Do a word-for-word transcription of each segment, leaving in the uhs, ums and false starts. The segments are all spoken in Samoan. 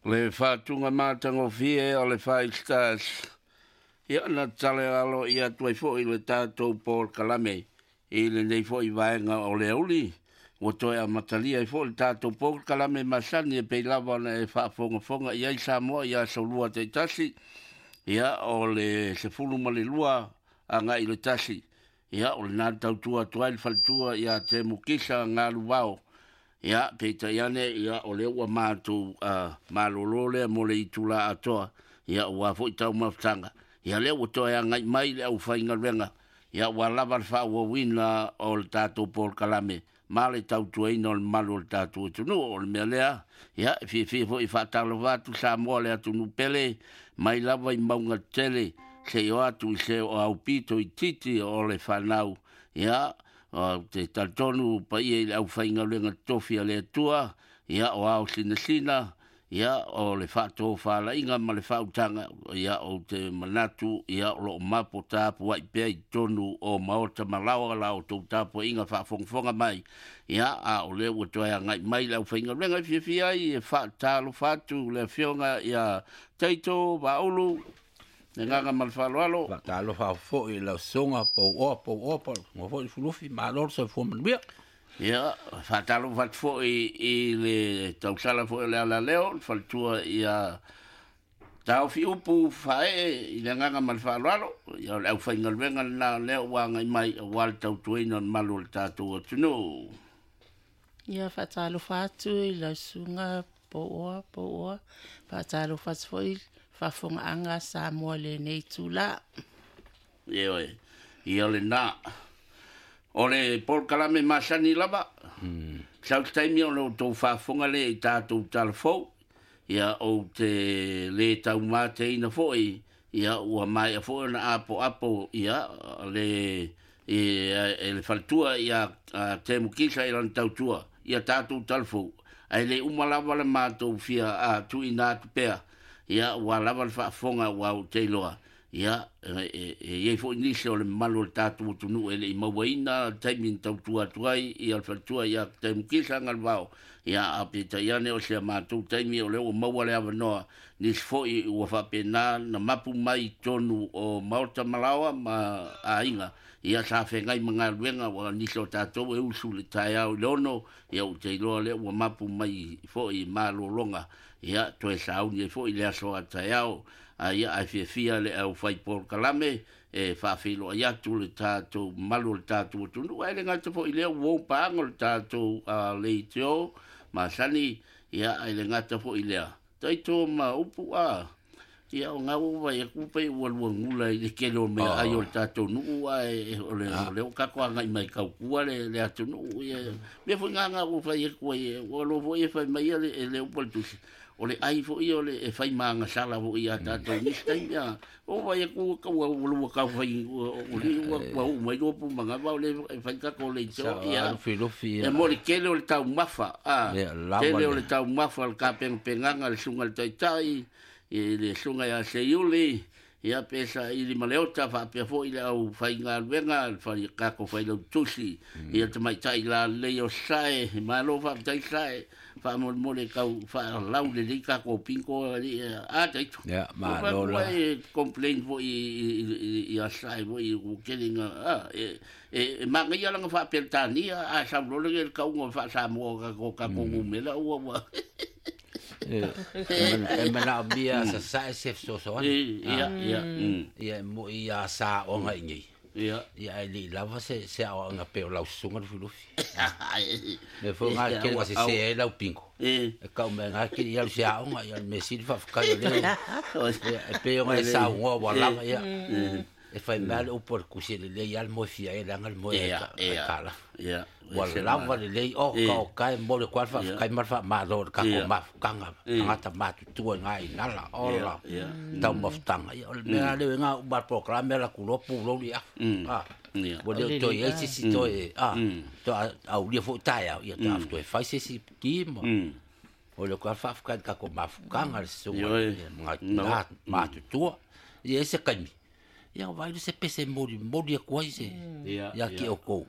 Le faatuga matagofie o le Five Stars. Ia na tale alo ia atu ai fo'i le tatou polokalame i lenei fo'i vaega o le auli. Ua toe amatalia ai fo'i le tatou polokalame masani e pei lava ona e faafogafoga i ai Samoa i aso lua taitasi. Ia o le sefulu ma le lua agai i le tasi. Ia o lena tautua atu ai le faletua ia Temu Kisa Galuvao. Ia peitai ane ia o lea ua matou uh, malolo lea mo le itula atoa. Ia ua foi taumafataga. Ia lea ua toe agai mai le aufaigaluega. Ia ua lava le faaauauina o le tatou polokalame ma le tautuaina o le malu o le tatou atunuu. O le mea lea, ia e fiafia foi faatalofa atu Samoa le atunuu pele mai lava i mauga tele seia oo atu i se o aupito itiiti o le fanau. Ia o te talitonu paia i le aufaigaluega totofi a le Atua, ia o ao sinasina, ia o le faatofalaiga ma le faautaga, ia ou te manatu, ia o loo mapo tapuai pea i totonu o maota ma laoa la outou tapuaiga faafogafoga mai. Ia a o lea ua toe agai mai le aufaigaluega e fiafia ai e faatalofa atu le afioga ia Taito Vaaulu, le agaga ma le faaaloalo. Faatalofa foi i lau susuga Pauoa Pauoa pa foi Lufilufi, malo le soifua manuia. Ia, faatalofa atu foi i le tausala foi o le alaleo, le faletua ia Taofi Upu Faaee i le agaga ma le faaaloalo. Ia o le aufaigaluega lena lea ua agai mai aua le tautuaina o le malu o le tatou atunuu. Ia faatalofa atu i lau susuga Pauoa Pauoa, faatalofa atu foi faafofogaaga Samoa lenei itula. Ioe, ia lena. O le polokalame masani lava, mm. sau se taimi o le outou faafofoga lea i tatou talafou, ia ou te lē taumateina foi, ia ua maea foi ona apoapo ia le e, e le faletua ia a Temu Kisa i lana tautua ia tatou talafou, ae le uma lava le matou fia a tuuina atu pea, ia ua lava le faafofoga ua ou te iloa. Ia, e iai foi nisi o le mamalu o le tatou atunuu e le i mauaina le taimi na tautua atu ai ia le faletua ia Temu Kisa Galuvao. Ia a peitai ane o se matou taimi o lea ua maua le avanoa, nisi foi ua faapena na mapu mai i totonu o maota ma laoa ma aiga. Ia sa feagai ma galuega ua nisi o tatou e usu i le taeao i le ono, ia ou te iloa lea ua mapu mai foi i malologa. Ia toe sauni ai foi le aso a taeao. Ia ae fiafia le aufai polokalame e faafeiloai atu le tatou mamalu o le tatou atunuu, ae le gata foi i lea ua paaga o le tatou uh, leitio masani. Ia ae le gata foi i lea taito ma upu a ia o ngau vai aku pe ua lua gula i le kele o mea ai o le tatou nuu ae o le o le o kako agai mai kaukua le le atunuu. Ia mea foi ngā ngā ua fai aku ai ua lo foi e fai mai le le upu le tusi o le ai foi o le e fai magasala foi ia tatou nisi taimi a o vai aku ka ua ua ka fai o le ua ua u mai lo pu manga va o le e fai kako le Sa ia Lufilufi e mo le kele o le taumafa a ia lava tele o le le taumafa le kapengapengaga le suga le taitai i le suga ia Seiuli, ia pe saili ma le ota faapea foi le aufaigaluega le fai kako failautusi ia tamaitai lalelei o Sae. Malo faafetai Sae, faamolemole tau faalau lelei tatou pinko ali a taito. Ia malo la e complain foi ia Sae foi ua kele nga a e e magaia lana faapeletania a sau loa le kauga faasamoa kako kako gumela ua ua e e manaomia sasae se fesoasoani. Ia ia mm Ia e moi ia sa aoga i nei. Ia Ia ae lei lava se se aoaoga pei o lau susuga Lufilufi. Mea foi gā kele ua sesē ai lau pingo. E E kau mai gā kele ia alu se aoga, ia o le mea sili faafetai o lea. Ia e pei ona e saunoa ua lava ia. E fai mai le upu a le tusi e lelei lava le moe fia ai leaga le moe ia ai ia aitalafu. Ia Ua lava lelei o ka o kae momoli atu ai le faafetai ma le faamalo i le tatou Ia. mafutaga tagata matutua i gā inala ia ola ia taumafutaga. Ia o le mea lea e gā uma le polokalame ala atu loa pulou le afu. A ia ua O le o toe lelei i ai la. se isi toe a toe aulia foi taeao ia toe toe fai se isi ki ma o le koa faafetai i le tatou mafutaga le susuga Ioe. ia ma No. tina matutua. Ia i se taimi ia vaai le se pese molimoli atu ai se ia ia ki outou.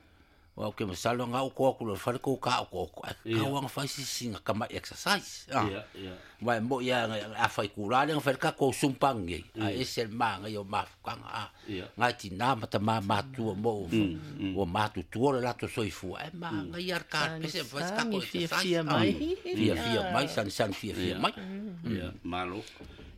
Wa ke masalo nga ko ko le fale ko ka ko ko ka wa fa si singa kama exercise ah Ia, ia. Wa mo ya nga a fa ku la le fa ka ko sumpang nge a esel ma nga yo ma ka nga Ia. nga ti na mata ma ma tu mo o ma tu tu le la to soifu e ma nga ya ka pese fa ka ko Fia exercise fia mai. fia fia mai san san fia fia mai Ia, malo.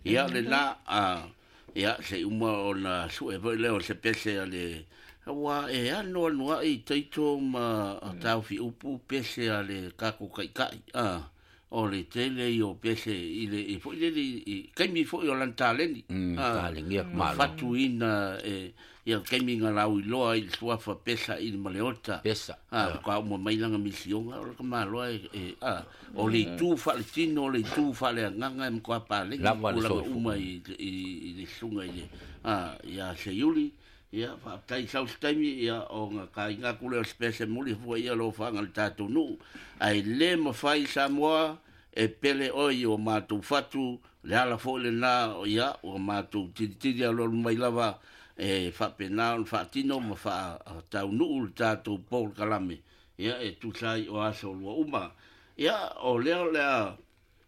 Ia le na a ia se uma o na su e foi leo se pese a le ua e ano ano ai taito ma a tau fi upu pese a le kako kai kai a o le tele i o pese i le i foi le i kaimi foi o lan taleni Mm, talengi ia malo. fatuina e ia kaimi nga lau i loa i suafa pesa i le maleota Pesa, a ka uma mai langa misionga o le ka maloa e, e a o le itu fa le tino o le itu fa le nganga e mkoa pa le Lava le kulaga soifua. uma i i i le sunga i le a ia se yuli ia fa tai sau se taimi ia o nga ka inga kule o spese muli fua ia lo fa ngal tatu nu ai le mafai Samoa e pele oi o mātou fatu le ala foi le na o ia o mātou titiri a lolu mai lava e faapena ona faatino ma faataunuu le tatou polokalame ia e tusa ai o aso lua uma ia o lea o lea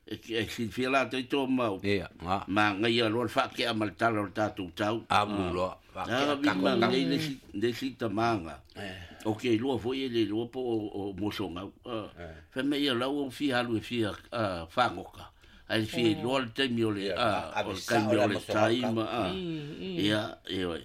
e e silafia latou to mau Ia, nga. magaia loa le faakea ma le tala o le tatou tau Amu loa. Ah, vi ma nei le si le si tamanga. O ke lua foi le lua po o, o mosongau. Ah. Fa me ia lau o fi halu e fi a fangoka. Ai fi loa le taimi o le a o le taimi o le taima a. Ia ia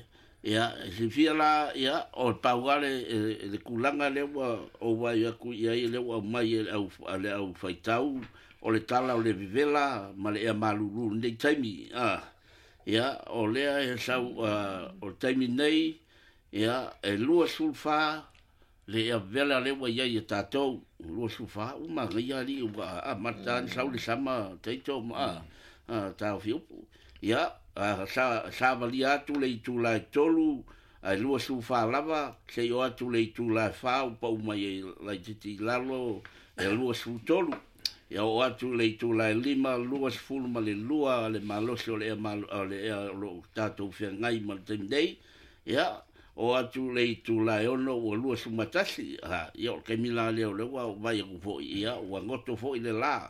ia si fia la ia o le pauga le e, le kulanga le ua o vai aku ia i le ua mai e au a le au faitau o le tala o le vivela ma le ea malulu nei taimi a. Ia, o lea e sau, uh, o le taimi nei, ia, e lua sulfa, le ea vela le ua iai e tātou, lua sulfa, uma ngai ali, ua a mata ni sau le sama, teito ma a, a tāo fiupu. Ia, a, sa, sa valia atu le itu lai tolu, ai lua sulfa lava, se o atu le itu lai whā, upa uma i lai titi lalo, e lua sul tolu. Ia o atu le itu lai lima, lua sefulu ma le lua, le malosi o le ea malo, o le ea o lo tātou whengai ma le taimi nei. Ia, o atu le itu lai ono, ua lua sumatasi. Ha, ia o le kaimi la leo le ua, o vai aku foi, ia, ua ngoto foi le la.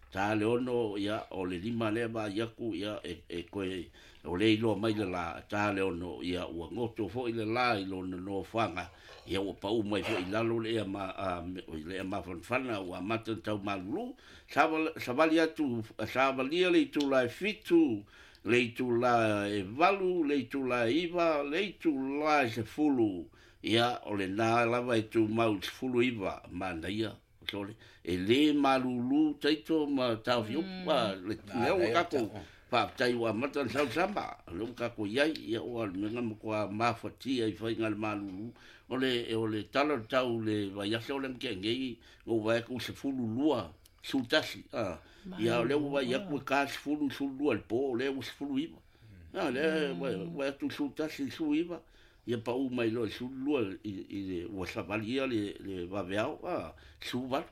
Tā le ono, ia, o le lima lea va iaku, ia, e, e koe, o le iloa mai le la, tā le ono, ia, ua ngoto foi le la i lona nofoaga. Ia ua pau mai foi i lalo le ea ma, a, me- o le ea mafanafana, ua amata ona tau malulu. Saval- Savali atu, savalia le itu la e fitu, le itu la e valu, le itu la e iva, le itu la e sefulu. Ia, o le nā lava e tu mau sefulu iva, manaia. Sole, e le malulu taito ma tau fiupu, mm. le lea ua kako faafetai ua amata ona sausama, le ua kako iai, ia ua le mea ma kua mafatia i faiga le malulu. O le, o le tala o le tau le vaiaso o le mke ngei, ngo vai ku sefulu lua, sutasi. Ah. Ia o le ua vai aku e ka sefulu sulu lua le po, o le ua sefulu iva. Ah, le vai vai atu sutasi su iva. Ia pa u mai loa sulu lua i, i le ua savalia le, le vaveao, ah, su valu.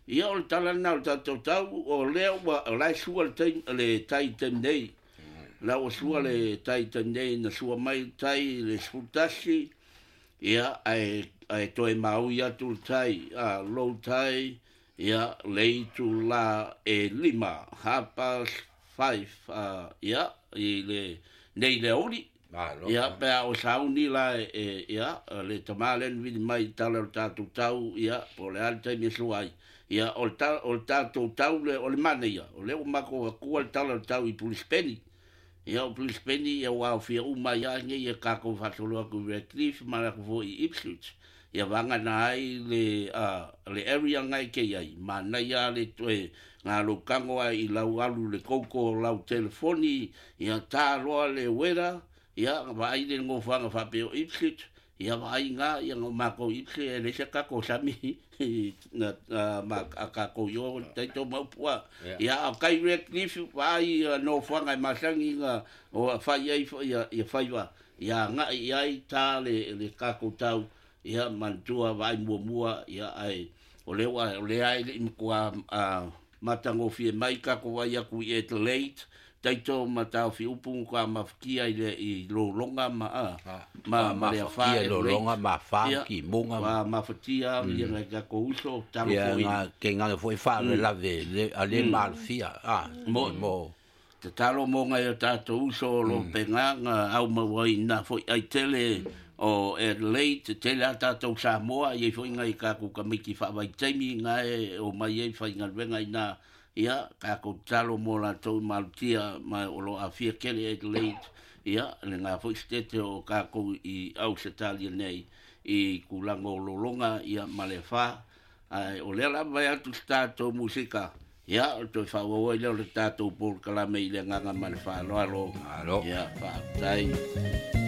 Ia o le tala na o le tatou tau, o lea ua, o lai sua le tai, le tai taimi nei. La ua sua le tai taimi nei, na sua mai tai le sefulutasi, ia, ae, ae toe maui atu le tai, a, low tai, ia, le itu la e lima, half past five, ah, ia, i le, nei le auli. Malo. Ia, pe a o sauni la e, e ia, le tamā le vili mai tala o le tatou tau, ia, po o le a le taimi e sua ai. Ia, o le ta- o le tatou tau le, o le mana ia, o lea ua mako akua le tala o le tau i Pulispeni. Ia, o Pulispeni, ia ua aofia uma ia nei e kākou faasolo atu i Redcliffe ma le atu foi i Ipswich. Ia vagana ai le, a, le area ngai ke iai, manaia le toe ngā laukago ai i lau alu le koko o lau telefoni, ia tā loa le uera, ia vaai le gofaga faapea o Ipswich, ia vaai ngā, ia ngā mākou Ipswich, e le se kako sami, na, na, ma, a kako i o taito maupua. Ia. Ia, o kai Redcliffe, vaai a nofoaga e masangi ngā, o a fai ai, ia, ia faiva, ia ngai i ai tā le, le kako tau, ia manatua vaai muamua, ia ai, o le ua, o le ai le i matua, a, matagofie mai kako vai aku i Adelaide, taito ma taofi upu ka mafatia i le i lologa ma a ma ma le afa e lologa ma fa ki munga ma mafatia ia ngai ka ko uso talo foi ia ke ngai foi fa le lave le ale malfia a mo mo te talo mo ngai o tatou uso lo penga nga au mawai na foi ai tele o Adelaide te tele a tatou Samoa ia foi ngai ka ku kamiki fa vai taimi ngai o mai ai fai galuega ina ia ka ko talo mo latou malutia ma o lo afia kele Adelaide ia le ngā foi stete o kākou i Ausetalia nei i kulaga o lologa ia ma le fa ai o lea lava vai atu se tatou musika ia o toe faaauau ai lea o le tatou polokalame i le agaga ma le faaaloalo Alo. Ia faafetai.